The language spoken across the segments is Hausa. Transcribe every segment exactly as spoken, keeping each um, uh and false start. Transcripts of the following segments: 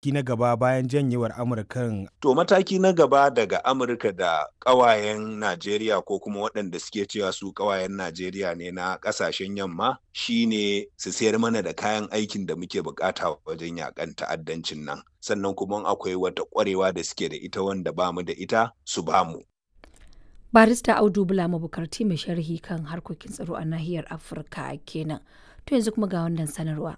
Na gaba bayan janyewar Amurkan? To, mataki na gaba daga Amurka da ƙawayen Najeriya, ko kuma waɗanda suke cewa su ƙawayen Najeriya ne na ƙasashen yamma, shine su sayar mana da kayan aikin da muke bukata wajen yakan ta'addancin nan. Sannan kuma akwai wata ƙwarewa da suke da ita wanda bamu da ita, su bamu. Barista Audu Bula Mabukarti, mai sharhi kan harkokin tsaro a nahiyar Afirka kenan. To, yanzu kuma ga wannan sanarwa.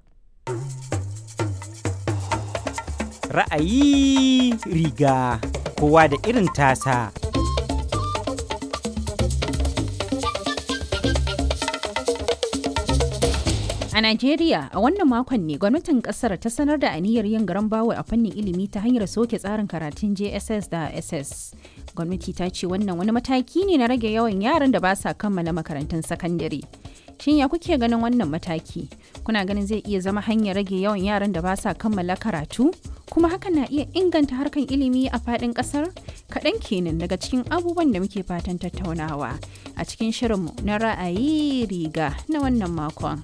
Ra'ayi riga kowa da irin tasa. A Najeriya, a wannan makon ne gwamnatin kasar ta sanar da aniyar yin garan bawul a fannin ilimi ta hanyar soke tsarin karatun J S S da S S. Gwamnati ta ce wannan wani mataki ne na rage yawan yaran da ba sa kammala makarantun sakandare. Shin ya kuke ganin wannan mataki? Kuna ganin zai iya zama hanyar rage yawan yaran da ba sa kammala karatu? Kuma hakan na iya inganta harkan ilimi a faɗin ƙasar? Kaɗan kenan daga cikin abubuwan da muke fatan tattaunawa a cikin shirinmu na ra'ayi riga na wannan makon.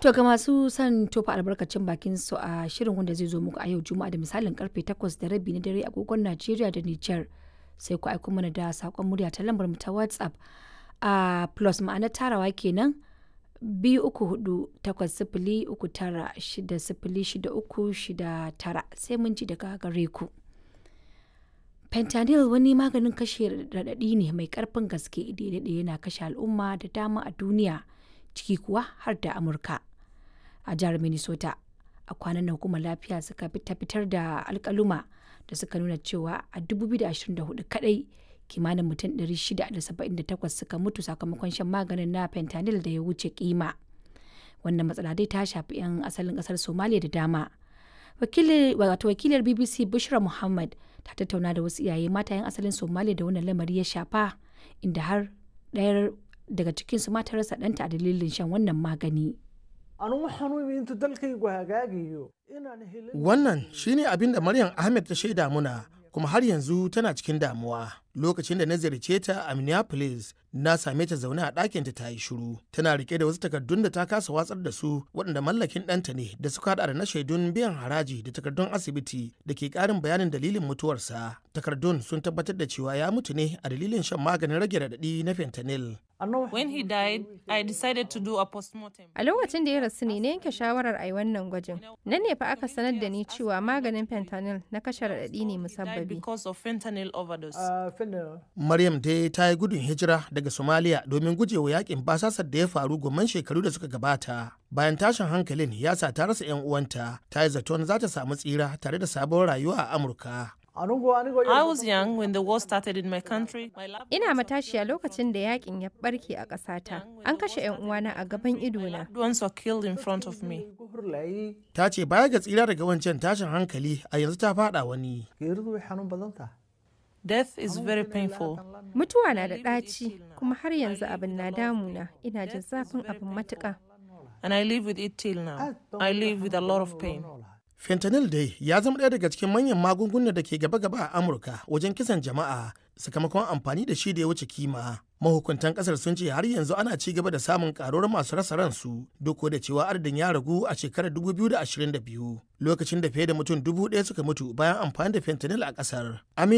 To, ga masu son tofa albarkacin bakin su a shirin wanda zai zo muku a yau Juma'a da misalin karfe takwas da rabi na dare agogon Najeriya da Nijar, sai ku aiko mana da sakon murya ta lambar mu ta WhatsApp a plus, ma'ana tarawa kenan, biyu uku hudu takwas sifili uku tara shida sifili shida uku shida tara. Sai mun ji daga gare ku. Fentanyl wani maganin kashe raɗaɗi ne mai ƙarfin gaske da ya daɗe yana kashe al'umma da dama a duniya, ciki kuwa har da Amurka. A jihar Minnesota, a kwanan nan hukumar lafiya suka fitar da alkaluma da suka nuna cewa a dubu biyu da ashirin da huɗu kadai kimanin mutum ɗari shida da saba'in da takwas suka mutu sakamakon shan maganin na fentanyl da ya wuce kima. Wannan matsala dai ta shafi 'yan asalin kasar Somalia da dama. Wato wakilar B B C Bushra Muhammad ta tattauna da wasu iyaye mata 'yan asalin Somalia da wannan lamari ya shafa, inda har ɗayar daga cikinsu ma ta rasa ɗanta a dalilin shan wannan magani. Wannan shine abin da Maryam Ahmed ta shaida muna, kuma har yanzu tana cikin damuwa. Lokacin da na ziyarce ta a Minneapolis, na same ta zaune a ɗakinta ta yi shiru. Tana rike da wasu takardun da ta kasa watsar da su, waɗanda mallakin ɗanta ne, da suka haɗa da na shaidun biyan haraji da takardun asibiti da ke ƙarin bayanin dalilin mutuwarsa. Takardun sun tabbatar da cewa ya mutu ne a dalilin shan maganin rage raɗaɗi na fentanyl. When he died, I decided to do a postmortem. A lokacin da ya rasu ne na yanke shawarar a yi wannan gwajin. Nan ne fa aka sanar da ni cewa maganin fentanyl na kashe raɗaɗi ne musabbabi. Because of fentanyl overdose. Maryam dai ta yi gudun hijira daga Somalia domin gujewa yakin basasar da ya faru gomman shekaru da suka gabata. Bayan tashin hankalin ya sa ta rasa 'yan uwanta, ta yi zaton za ta samu tsira tare da sabon rayuwa a Amurka. I was young when the war started in my country. Ina matashiya lokacin da yakin ya barke a ƙasata. An kashe 'yan uwana a gaban idona. Loved ones were killed in front of me. Ta ce baya ga tsira daga wancan tashin hankali, a yanzu ta fada wani. Death is very painful. Mutuwa na da ɗaci, kuma har yanzu abin na damuna. Ina jin zafin abin matuƙa. And I live with it till now. I live with a lot of pain. Fentanyl dai ya zama ɗaya daga cikin manyan magungunan da ke gaba-gaba a Amurka wajen kisan jama'a sakamakon amfani da shi da ya wuce kima. Mahukuntan kasar sun ce har yanzu ana ci gaba da samun karuwar masu rasa ransu, duk da cewa adadin ya ragu a shekarar dubu biyu da ashirin da biyu, lokacin da fiye da mutum dubu ɗaya suka mutu bayan amfani da fentanyl a kasar. Amin